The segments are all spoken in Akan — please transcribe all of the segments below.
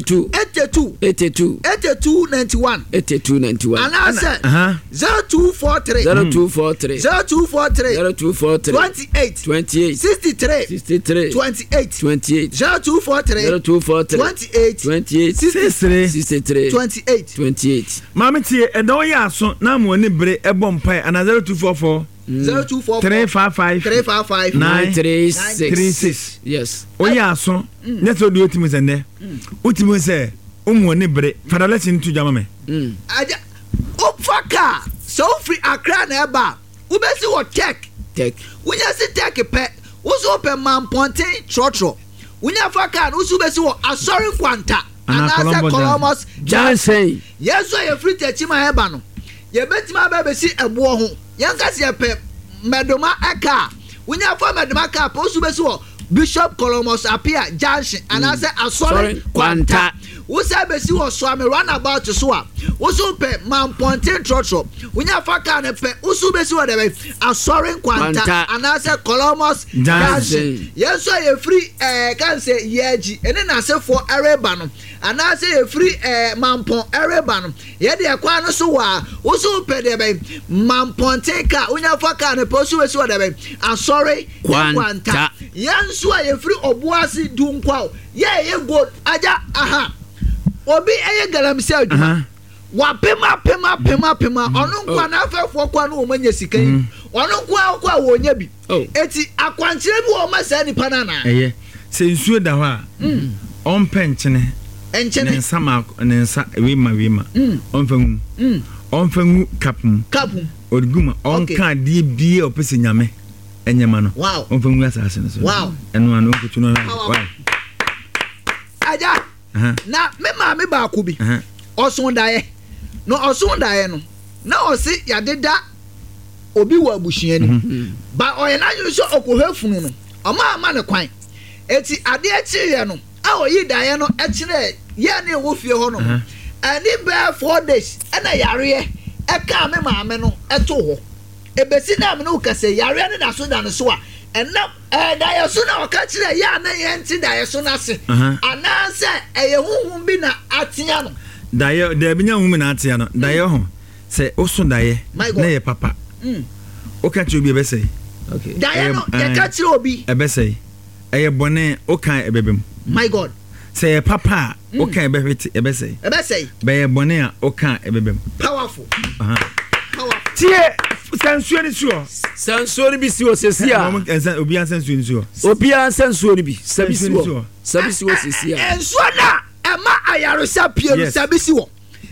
2. 82. 82. 82 91. 82 91. Anaasɛ 0243. 0243. 0243. 0243. 28. 28. 63. 63. 28. 28. 0243. 0243. 28. 28. 63. 63. 28. 28. Maame tie, ɛda ɔyɛ aso na ama w'ani bere ɛbɔ mpae anaa 0244. 0244. 355. 355. 936. 36. Yes. Woyɛ aso nyɛ sɛ wode wotumi sɛ nnɛ wotumi sɛ womu w'ani bere fa dalɛkye no to dwa ma me. Agya, wofa kaa sɛ wofiri Accra na ɛba a, wobɛsi wɔ Tech. Tech. Wonya si Tech pɛ, wo so wopɛ Mampɔnten trɔtrɔ. Wonya fa kaa no, wo so wobɛsi wɔ Asɔre Nkwanta Anaa anaasɛ Columbus Columbus Junction. Yɛn nso a yɛfiri Techiman ɛba no, yɛbɛtumi aba abɛsi ɛboɔ ho. Yɛnka sɛ yɛpɛ Mɛdoma kaa a, wonya fa Mɛdoma kaa pɛ, wo so wobɛsi wɔ Bishop Columbus Appiah Junction anaasɛ Asɔre Kwanta. Wosan bɛsi wɔ Suame Runabout so a, wo so wopɛ Mampɔnten trɔtrɔ. Wonya fa kaa no pɛ, wo so wobɛsi wɔ dɛbɛn? Asɔre Nkwanta Kwanta. anaasɛ Columbus Junction. Yɛn nso a yɛfiri ɛɛ kan sɛ Yɛagyi ne n'asefoɔ ɛreba no, anaasɛ yɛfiri ɛɛ Mampɔn ɛreba no, yɛn deɛ kwan no so wɔ a, wo so wopɛ deɛ bɛn? Mampɔnten kaa, wonya fa kaa no pɛ, wo so wobɛsi wɔ dɛbɛn? Asɔre Kwanta. Nkwanta. Yɛn nso a yɛfiri Obuasi Dunkwaw, yɛ a yɛyɛ gold, agya, aha, obi ɛyɛ galamsey adwuma. Wapem apem apem apem a ɔno nko a n'afɛfoɔ kɔ a na wɔn anya sika yi, ɔno nko ara kɔ a wɔnya bi. Eti akwankyerɛ bi wɔ hɔ ma saa nipa no anaa? Ɛyɛ. Sɛ nsuo da hɔ a, ɔmpɛ nkyene. Nkyene. Ne nsa maako, ne nsa wei ma wei ma. Ɔmfa ngu mu. Ɔmfa ngu cup mu. Cup mu. Ɔde gu mu a, ɔnka adeɛ biara a ɔpɛ sɛ Nyame nyɛ ma no. Wow. Ɔmfa ngu asase no so. Wow. Ɛno ano ɔnkotu no. Powerful. Why? Agya. Na me maame baako bi, ɔso daeɛ. Na ɔso daeɛ no, na ɔse yɛadeda obi wɔ abusua no mu. Ba ɔyɛ n'adwene sɛ ɔkɔhwɛ funu no, ɔma ama no kwan. Eti adeɛ kyeeɛ no, a ɔyii daeɛ no kyerɛɛ yɛn ne ɛwɔ fie hɔ nom no, ɛne bɛyɛ 4 days ɛna yareɛ ɛkaa me maame no ɛtoo hɔ. Ebesi nnɛ a me ne wo kasa yi, yareɛ no da so da ne so a, ɛnam ɛyɛ daeɛso na ɔka kyerɛɛ yɛn a na yɛnte daeɛso no ase, anaasɛ ɛyɛ honhom bi na atea no. Daeɛ, daabi nyɛ honhom bi na atea no. Daeɛ ho, sɛ woso daeɛ My na God. ɛyɛ papa, woka kyerɛ obi a ɛbɛsɛe. Daeɛ no, yɛka kyerɛ obi. Ɛbɛsɛe. Ɛyɛ bɔne, woka a ɛbɛba mu. My God. Sɛ ɛyɛ papa a, woka a ɛbɛhwete, ɛbɛsɛe. Ɛbɛsɛe. Bɛyɛ bɔne a, woka a ɛbɛba mu. Powerful. Powerful. Tie, sɛ nsuo no si hɔ. Sɛ nsuo no bi si hɔ sɛsi a. Obiara nsa nsuo no si hɔ. Obiara nsa nsuo no bi. Sɛ bi si hɔ. Sɛ bi si hɔ sɛsi a. Nsuo no a ɛma ayaresa pie no, sɛ bi si hɔ.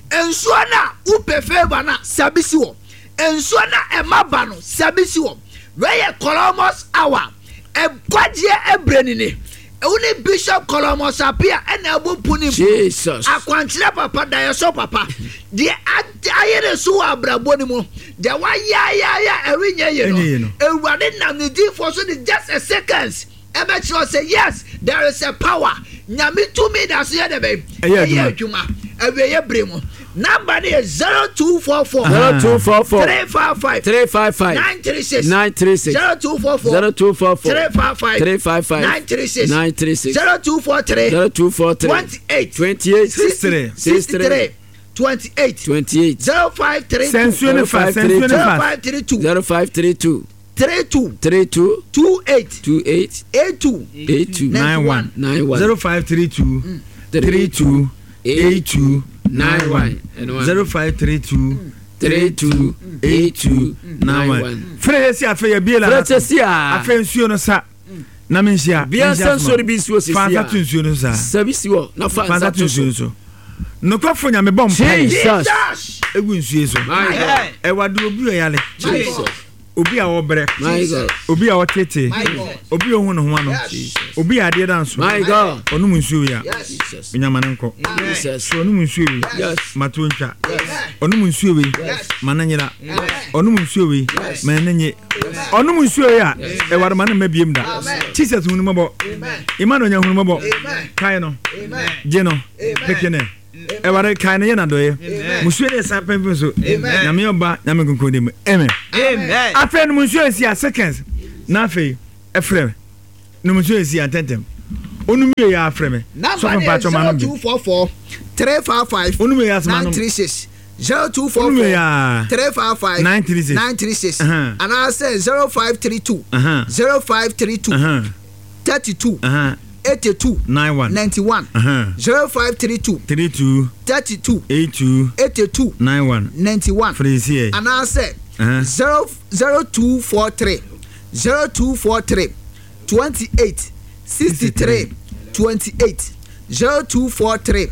Nsuo no a wopɛ favour no a, sɛ bi si hɔ. Nsuo no a ɛma ba no, sɛ bi si hɔ. Wei yɛ Columbus hour. Nkwagyeɛ ɛbrɛ ni ni. Wo ne Bishop Columbus Appiah ɛna ɛbɔ mpu ne mpu. Jesus. Akwankyerɛ papa, daeɛso papa. Deɛ ayere so wɔ abrabɔ no mu, deɛ wayɛ ayɛ a ɛrenyɛ yie no, Awurade nam ne diifoɔ so de just a seconds ɛbɛkyerɛ sɛ yes, there is a power. Nyame tumi da so yɛ dɛ bɛn? Ɛyɛ adwuma. Awieɛ bere mu. Number no yɛ 0244. 0244. 355. 355. 936. 936. 0244. 0244. 355. 355. 936. 936. 0243. 0243. 28. 28. 63. 63. 28. 28. 0532. Sɛ nsuo no fa, sɛ nsuo no fa. 0532. 0532. 32. 32. 28. 28. 82. 82. 91. 91. 0532 32 82 91. 0532 32 82 91. Frɛ yɛ si afei yɛ bie la. Frɛ sɛ si a. Afei nsuo no sa. Na mi nhyia. Bia nsa nsuo no bi nsuo sisi a. Fa nsa to nsuo no so saa. Sɛ bi si hɔ na fa Fa nsa nsa to to nsuo so. no so. Nokwafo Nyame bɔ mpae. Jesus. Egu nsuo so. My God. Ɛwade obi ɔyare. Jesus. Obi a ɔbrɛ. My God. Obi a ɔtete. Obi a ohun ne ho ano. Obi a adeɛ da nso. My God. Ɔnom nsuo yi a. Jesus. Onyama ne nkɔ. Jesus. So ɔnom nsuo yi. Yes. Ma to ntwa. Ɔnom nsuo yi. Ma ne nyera. Ɔnom nsuo yi. Ma ne nye. Ɔnom nsuo yi a. Ɛwade ma ne mma biem da. Jesus hunu mɔbɔ. Emmanuel nya hunu mɔbɔ. Kae no. Gye no. Peke ne. Ɛwade kae no yɛ n'adɔeɛ. Musuo ne ɛsan pɛnpɛn so. Nyame ɔba Nyame nkonkron de mu. Amen. Afei nom nsuo esi a seconds. Na afei ɛfrɛ nom nsuo esi a ntɛntɛm. Onum wie yɛ afrɛ me. Number no yɛ 0244 355 936. 0244 355 936 anaasɛ 0532 0532 32 82 91 0532 32 32 82 82 91 91 anaasɛ 0243 0243 28 63 28 0243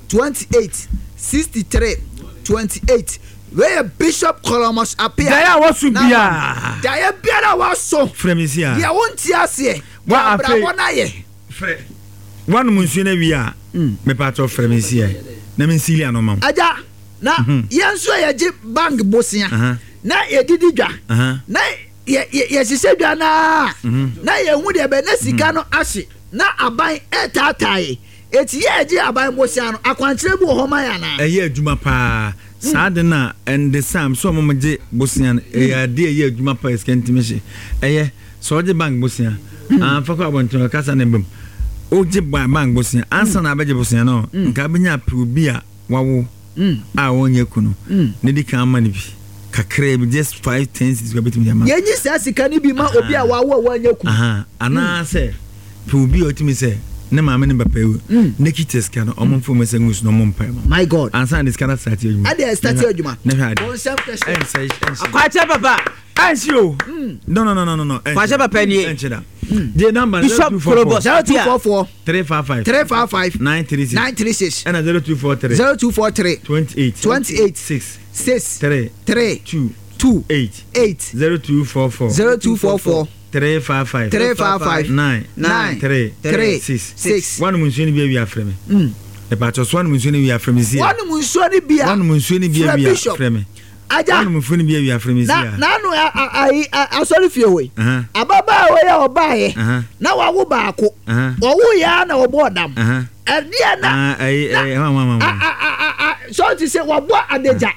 28 63 28 Wei yɛ Bishop Columbus Appiah. Daeɛ a waso biara. Daeɛ biara a waso. Frɛ me si a. Deɛ wonte aseɛ. Deɛ abrabɔ no ayɛ. Frɛ. Wanom nsuo no awie a. Mepatɔ frɛ me si a. Na me nsili ano ma wo. Agya, na yɛn nso a yɛgye bank bosea. Na yɛdidi dwa. Na yɛ yɛ yɛhyehyɛ dwa no ara na yɛhu deɛ bɛ na sika no ahye na aban ɛretaataa yɛ eti yɛ ɛgye aban bosea no akwankyerɛ bi wɔ hɔ ma yɛ anaa. Ɛyɛ adwuma paa saa ade no a ɛnde sam sɛ ɔmo gye bosea no ɛyɛ ade a ɛyɛ adwuma paa sika ntumi hye ɛyɛ sɛ ɔgye bank bosea anfa kɔ abɔnten ɔkasa ne bam ogye bank bosea ansa na abɛgye bosea no nka abɛnya apɛ obi a wawo a ɔnyɛ kunu na di kan ma no bi kakraa bi just 5, 10 cedis kora bɛtumi de ama. Yɛnyi saa sika no bi ma obi a wawo a wanyɛ kunu. Anaasɛ pɛ obi a ɔtumi sɛ ne maame ne papa awu ne kita sika no ɔmo mfa ɔmo nsa ngu so na ɔmo mpae ma. My God. Ansa na de sika no asate adwuma. Ɛde ɛstate adwuma. Ne hwɛ ade. Bonsam kɛse. Ɛnsɛ ɛnhyɛ. Akwakyɛ papa. Ɛnhyɛ o. No no no no no. Kwakyɛ papa nie. Ɛnhyɛ da. Gye number Bishop Kolobos. 0244. 355. 355. 936. 936. Ɛna 0243. 0243. 28. 28. 6. 6. 3. 3. 2. 2. 8. 8. 0244. 0244. 355. 355. 9. 9. 3. 3. 6. 6. Wanom nsuo no bi awie afrɛ me. Ɛpàtɔ so wanom nsuo no wie afrɛ me si. Wanom nsuo no bi a. Wanom nsuo no bi awie afrɛ me. Agya. Wanom nsuo no bi awie afrɛ me si a. Na n'ano ayi asɔre fie hɔ yi. Ababaawa yi a ɔbaayɛ. Na wawo baako. Ɔwo yɛ a na ɔbɔ ɔdam. Ɛdeɛ na. Na sɔɔti sɛ wabɔ adagya.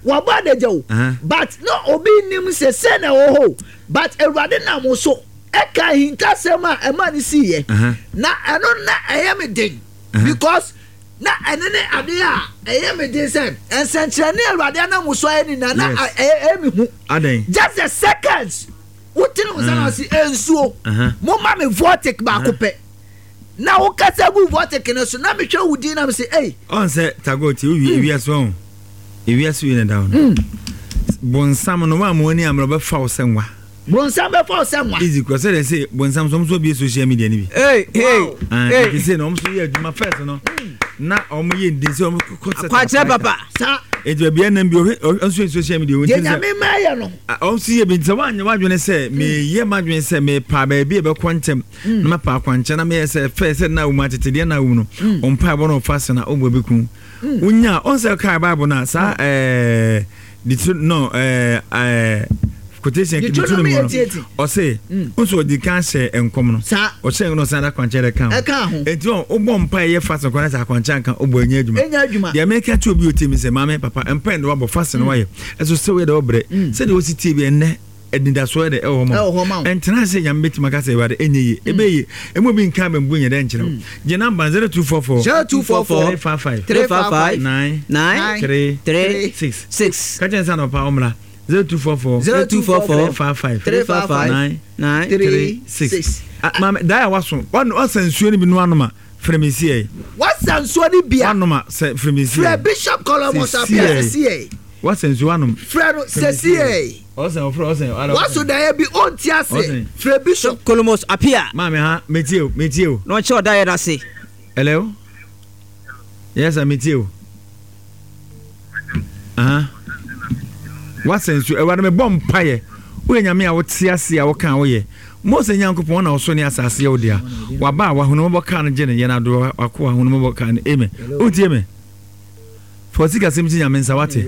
Wabɔ adagya o. But na obi nim sɛ sɛ na ɛwɔ hɔ o. But Awurade nam so ɛka ahintasɛm a ɛma ne siiɛ. Na ɛno na ɛyɛ me den. Because na ɛno ne adeɛ a ɛyɛ me den sɛ nsɛnkyerɛnne a Awurade anam so ayɛ ne nyinaa na ɛyɛ me hu. Just the seconds wotene wo nsa na ɔse nsuo momma me vortic baako pɛ na wokasa gu vortic no so na mehwɛ wo din na mese ei. Ɔn sɛ tago ti wowie ewiase ɔn ewiase wie na da hɔ no bonsam no wɔn a wɔn ani amena ɔbɛfa wo sɛ nwa. Bronsam bɛfa wo sɛ nwa. Easy kura sɛdeɛ sɛ bonsam so wɔn nso abue social media no bi. Hey, hey, Ah, hey. nti sɛ na wɔn nso yɛ adwuma first no na wɔn yɛ ndin sɛ wɔn kɔ sɛ Akwankyerɛ papa. Sa. Nti baabi ɛnam bi ɔhwɛ ɔhwɛ nso yɛ social media wɔn Deɛ ti sɛ Nyame ma yɛ no. Ah, wɔn nso yɛ bi nti sɛ wɔanyɛ wɔadwene sɛ meyɛ m'adwene sɛ mepa baabi a ɛbɛkɔ ntɛm na mapa akwankyerɛ na meyɛ sɛ fɛ sɛ na wɔn atete deɛ na wɔn no wɔn mpa ɛbɔ na ɔfa se na ɔbɔ bi kun. Wonya ɔn sɛ ɔkaa Bible no a saa ɛɛ Deuter no ɛɛ ɛɛ quotation Deuteronomy Deuteronomy no 88. ɔse nso ɔdi kan hyɛ nkɔm no Saa. ɔhyɛ nkɔm no ɔsan de akwankyerɛ de ka ho Ɛka ho. enti wɔn wobɔ mpa ɛyɛ fast kwan sɛ akwankyerɛ anka wobɔ ɛnyɛ adwuma Ɛnyɛ adwuma. Deɛ meka kyerɛ obi otie mi sɛ maame papa mpa ɛna wabɔ fast no wayɛ ɛso sɛ woyɛ dɛ wɔbrɛ sɛdeɛ wosi tie bi ɛnnɛ Anidasoɔ yɛ dɛ ɛwɔ hɔ ma wo. Ɛntena ase sɛ Nyame bɛtumi aka sɛ Awurade ɛnyɛ yie. Ɛbɛyɛ yie. Ɛmu obi nka abambuo nyɛ dɛ nkyerɛ wo. Gye number no 0244 0244 355 355 9 9 3 3 6. 6. Ka kyerɛ no sɛ anɔpa ɔmmra 0244 0244 355 355 9 9 3 6. Ah, maame, dae a waso, wasa nsuo no bi no anom a, frɛ me siɛ. Wasa nsuo no bi a, Wanom a, sɛ frɛ me siɛ. Frɛ Bishop Columbus Appiah sesiɛ. Wasa nsuo wanom. Frɛ no sesiɛ. Ɔsɛn ɔfrɛ ɔsɛn ɔsɛn. Waso daeɛ bi ɔnte ase. Frɛ Bishop. Columbus Appiah. Maame ha metie o metie o. Na ɔnkyerɛ ɔdaeɛ no ase. Hello yes sir metie o. Aha wasa nsuo ɛwurade mebɔ mpaeɛ woyɛ nyame a wote ase a woka a woyɛ Mose Nyankopɔn na ɔsoro ne asase yɛ wo dea waba a wahunu mɔbɔ kaa no gye no yɛn adoɔ wakoa hunu mɔbɔ kaa no amen wotie me. Fa wo sikasɛm hyɛ Nyame nsa, wate?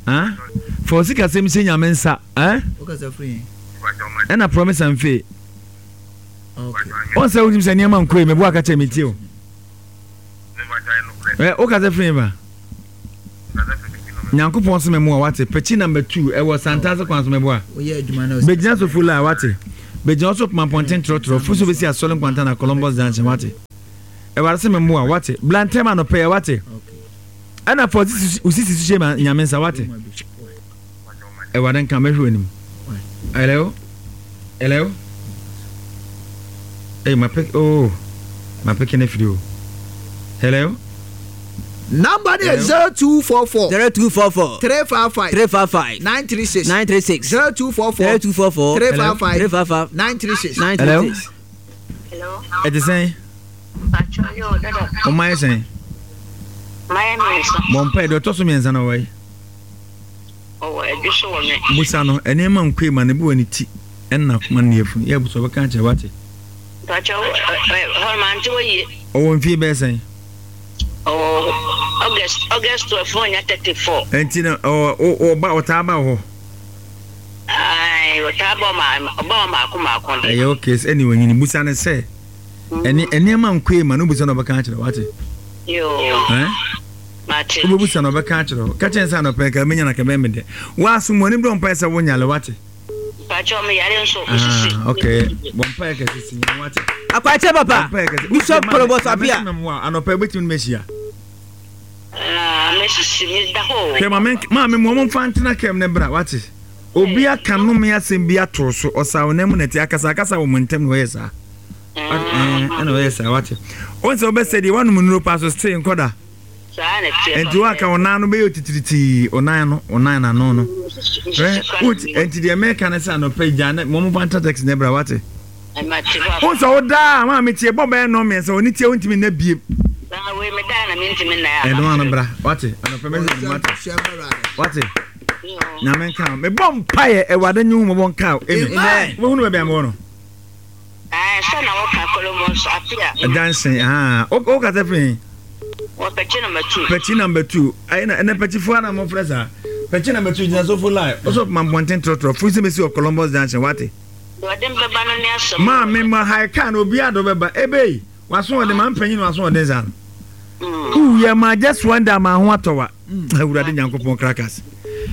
Ah? Fa wo sikasɛm hyɛ Nyame nsa, eh? Ɛna promise and faith. Wɔn sɛ wonim sɛ nneɛma nkɔ yi, meboa ka kyerɛ me tie o. Ɛ, wokasa firi ba? Nyankopɔn so mɛmoa, wate? Pɛkyi number 2, ɛwɔ Santase kwan so mɛboa. Bɛgyina so full a, wate? Bɛgyina hɔ so poma mpɔnten trɔtrɔ. Fo so bɛsi Asɔre Nkwanta na Columbus Junction, wate? Awurade sɛ memmoa, wate? Bla ntɛm anɔpa yi, wate? Ɛna fa wo sisi so hyɛ Nyame nsa, wate? Awurade nka, mɛhwɛ w'anim. Hello? Hello? Hey, my pick, oh, my picking a video. Hello? Number no yɛ 0244. 0244. 355. 355. 936. 936. 0244. 0244. 355. 355. 936. 936. Hello? Ɛte sɛn? Ɔma yɛ sɛn? Bɔ mpae deɛ ɔtɔ so mmiɛnsa na ɔwɔ yi. Ɔwɔ adwo so wɔ me. Busa no nneɛma nkoe ma ne bo wɔ ne ti ɛna akoma ne yafunu. Yɛ busa ɔbɛka akyerɛ wate. Mpakyɛ hɔ mante wɔ yie. Ɔwɔ mfie bɛyɛ sɛn? Ɔwɔ August August 12 na ɔnya 34. Nti no ɔwɔ ɔba ɔtaa ba hɔ. Ayi ɔtaa ba ɔma ɔba ɔma maako maako de. Ɛyɛ okay ɛne ɔnyini busa no sɛ ɛne nneɛma nkoe ma no busa no ɔbɛka akyerɛ wate. Yoo. Ɛn. Mate. Wobɛbusa no ɔbɛka akyerɛ wo. Ka kyerɛ no sɛ anɔpa yi ka menya no ka bɛyɛ me dɛ. Woaso mu ani brɛ mpaeɛ sɛ wonyale wate. Mpakyɛw me yare nso me sisi. Ah okay. Bɔ mpaeɛ kɛse si nyame wate. Akwakyɛ papa. Bɔ mpaeɛ kɛse. Bishop Kolobos Apia. Anɔpa yi wobɛtumi ne mahyia. Ah me sisi me da hɔ o. Hwɛ ma me maame mu ɔmo mfa ntena kam ne bra wate. Obi aka nnome asɛm bi ato so ɔsaw nan mu na ɛte akasa akasa wɔ mo ntam na ɔyɛ saa. Ɛna ɔyɛ saa wate. Wɔn sɛ wobɛsɛ deɛ woanom nnuro paa so stay nkɔda. Nti woaka wo nan no bɛyɛ otitiritii wo nan no wo nan n'ano no. Nti deɛ meka ne sɛ anɔpa yi gya ne mo mo ntra taxi ne bra wate. Wo sɛ wo daa maa me tie bɔ bɛyɛ nnɔn mmiɛnsa wɔ ne tie wontumi nna biem. Ɛno ano bra wate anɔpa mɛhwɛ ne wate. Wate. Nyame nka mebɔ mpaeɛ Awurade nye wo mmɔbɔ nka amen. Wobɛhunu baabi a mewɔ no. Ɛɛ sɛ na woka Kolomos Apia. Junction ah wo wo kasa fi he? Wɔ Pɛkyi number 2. Pɛkyi number 2 ayi na ɛnɛ Pɛkyifoɔ ana mo frɛ saa Pɛkyi number 2 gyina sofo line ɔsɔ ma mpɔnten trɔtrɔ firi sɛ mesi wɔ Columbus Junction wate. Deɛ ɔde mbɛba no ne asɛm. Maa me ma hae kaa na obiara de ɔbɛba ebei waso ɔde ma mpanyin waso ɔden saa no. Ooh yɛ ma just one day ama ho atɔ wa. Awurade Nyankopɔn krakas.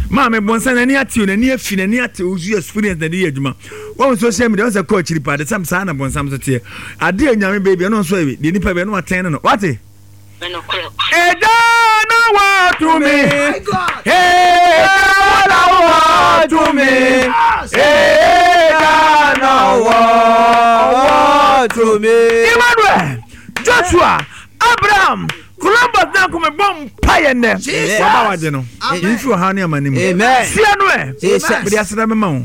Maame bɔnsa n'ani ate o n'ani afi n'ani ate o so experience na de yɛ adwuma. Wɔn social media wɔn sɛ kɔ akyiri paa de sɛm saa na bɔnsam so teɛ. Ade a nyame bɛyɛ bi ɛno nso ɛbi deɛ nipa bɛyɛ no atɛn no no wate. Ɛda na wɔtumi. Ɛda na wɔtumi. Ɛda na wɔtumi. Emmanuel Joshua Abraham Columbus na nkɔmɛ bɔ mpaeɛ nnɛ waba wagye no mfi ɔhaw ne amane mu sia no ɛ mede aseda mema wo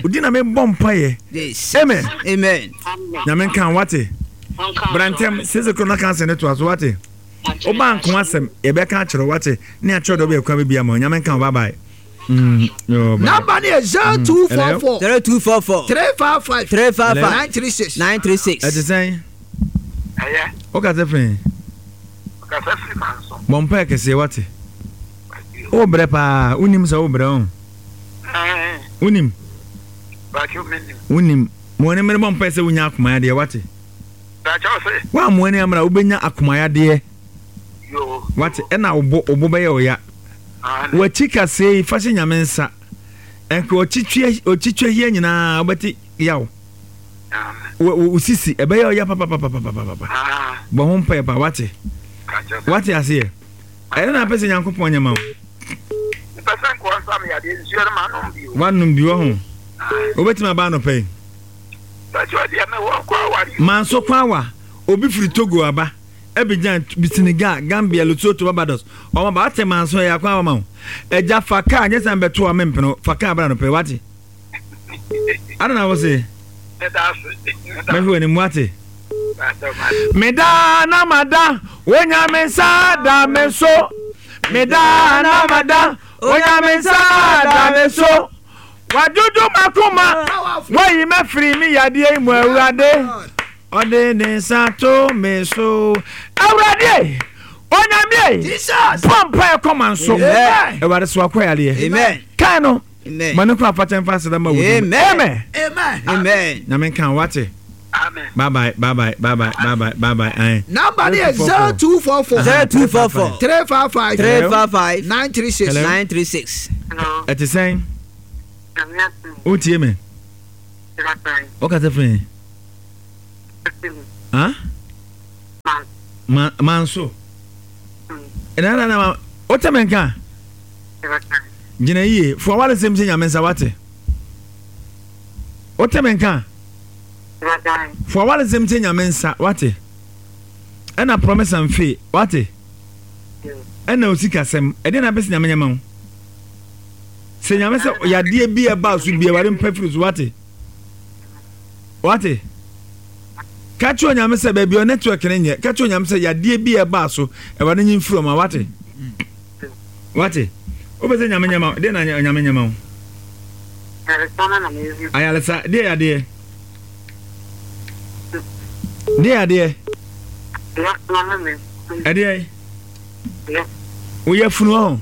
odi na mebɔ mpaeɛ amen nyame nka wate bra ntɛm sese koro na ka asɛ ne toa so wate woba nko asɛm yɛbɛka akyerɛ wate ne akyerɛ dɛ wobɛyɛ kwan bɛbi ama nyame nka wo bye bye Number no yɛ 0244. 0244. 355. 355. 936. 936. Ɛte sɛn? Ɛyɛ. Wokasa firi he? Ɔkasa firi Manso. Bɔ mpaeɛ kɛseɛ wate. Wobrɛ paa, wonim sɛ wobrɛ ho? Wonim? Wonim. Ma w'ani mmere bɔ mpaeɛ sɛ wonya akomayadeɛ wate. Woamma w'ani ammere a wobɛnya akomayadeɛ. Wate ɛna wo bo wo bo bɛyɛ wo ya. W'akyi kaseɛ yi fa hyɛ Nyame nsa. Ɛnka ɔkyitwa ɔkyitwa hia nyinaa wobɛte yaw. Wo wo sisi ɛbɛyɛ wo ya papapapapapapa. Bɔ ho mpaeɛ pa wate. Wate aseɛ. Ɛdɛ na apɛ sɛ Nyankopɔn nyɛ ma wo. Mepɛ sɛ nkoa nsa me yadeɛ nsuo no manom bi o. Wanom bi wɔ ho. Wobɛtumi aba anɔpa yi. Manso kwawa obi firi Togo aba. Abidjan, Senegal, Gambia, Lesotho, Barbados. Ɔmo aba ate manso ɛyɛ akwan ama wo. Agya fa kaa nyɛ sɛ mbɛto a mempene wo. Fa kaa bra anɔpa yi wate. Ada na wo se. Mɛhwɛ w'anim wate. Meda na mada Onyame nsa da me so. Meda na mada Onyame nsa da me so. Wadwodwo m'akoma, wayi m'afiri me yadeɛ yi mu Awurade. Ɔde ne nsa to me so. Awurade e, Onyame e, bɔ mpaeɛ kɔ ma nso. Awurade so akɔ yadeɛ. Kae no, ma ne kɔ afakyɛ mfa aseda ma wo din. Amen. Amen. Nyame nka wate. Bye bye, bye bye, bye bye, bye bye, bye bye. Aye. Number no yɛ 0244 0244 355 355 936 936. Ɛte sɛn? Wotie me? Wokasa firi he? Ha? Ma manso. Ɛna na na wote me nka? Gyina yie. Fo awaresɛm hyɛ Nyame nsa wate. Wote me nka? Fo awaresɛm hyɛ Nyame nsa wate. Ɛna promise and faith wate. Ɛna osikasɛm. Ɛdeɛ na apɛ sɛ Nyame nyɛ ma wo. Sɛ Nyame sɛ yadeɛ bi a ɛbaa so bi awurade mpa firi so wate. Wate. Ka kyerɛ Onyame sɛ baabi a network no nyɛ. Ka kyerɛ Onyame sɛ yadeɛ bi a ɛbaa so awurade nyi mfiri ɔma wate. Wate. Wopɛ sɛ Nyame nyɛ ma wo. Deɛ na Nyame nyɛ ma wo. Ayaresa deɛ yadeɛ. Deɛ yadeɛ. Ɛdeɛ. Wo yafunu ɔho.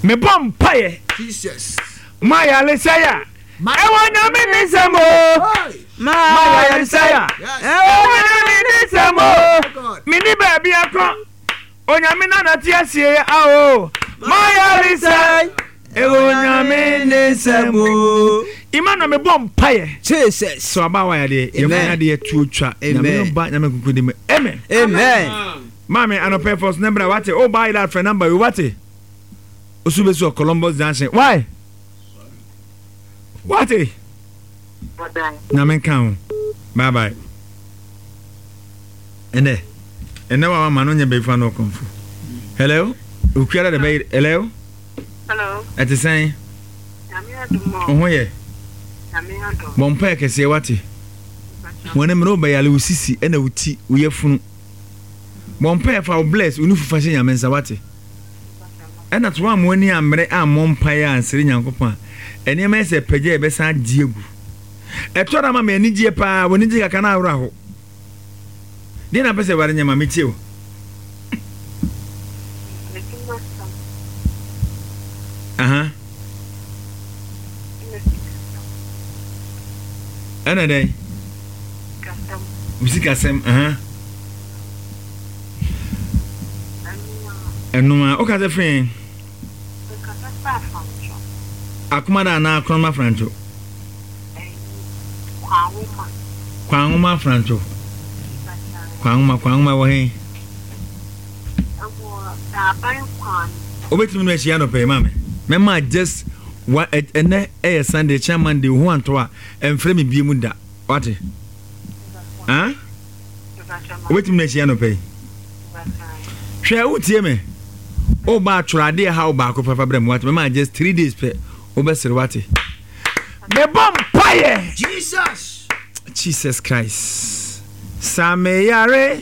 Mebɔ mpaeɛ. Jesus. Ma yaresɛe a ɛwɔ Nyame ne nsam o. Ma yaresɛe a ɛwɔ Nyame ne nsam o. Meni baabi akɔ. Onyame na nate aseɛ a o. Ma yaresɛe ɛwɔ Nyame ne nsam o. Emmanuel mebɔ mpaeɛ. Jesus. So abaawa yadeɛ. Yɛfunu yadeɛ tuo twa. Nyame ɔba Nyame kuku di mu. Amen. Amen. Maame anɔpɛ fɔs ne bra wate o ba yɛrɛ afrɛ number yi wate osu bɛ si wɔ Columbus Junction why wate nyame nka ho bye bye ɛnɛ ɛnɛ wa ma no nyɛ bɛyifa no ɔkɔmfo hello okuara de bɛyɛ hello hello ɛte sɛn ho yɛ bɔ mpa yɛ kɛseɛ wate wɔn mmerɛ wobɛyale wo sisi ɛna wo ti wo yafunu Bɔ mpaeɛ fa wo bless wo nufu fa hyɛ Nyame nsa wate. Ɛna to woamma w'ani ammere ammɔ mpaeɛ ansere Nyankopɔn a, nneɛma yɛ sɛ pagya a yɛbɛsan agye agu. Ɛtɔ da ma me anigyeɛ paa, w'ani gye kakra na awerɛ aho. Deɛ na apɛ sɛ Awurade nyɛ ma metie o. Aha. Ɛna dɛn? Wo sikasɛm, aha. Ɛno a, woka sɛ fee? Akoma da anaa akorɔma afrantwo? Kwanwoma afrantwo. Kwanwoma, kwanwoma wɔ he? Wobɛtumi no ahyia anɔpɛ yi maame? Mɛma just wa ɛnɛ ɛyɛ Sunday, kyena Monday, wo ho antɔ a, ɛmfrɛ me bie mu da. Wate? Ah? Wobɛtumi no ahyia anɔpɛ yi? Hwɛ, wotie me? Woba atwerɛ adeɛ ha wo baako pɛfa brɛ me wate? Mɛma just 3 days pɛ, wobɛsere wate? Mebɔ mpaeɛ! Jesus! Jesus Christ. Sa me yare.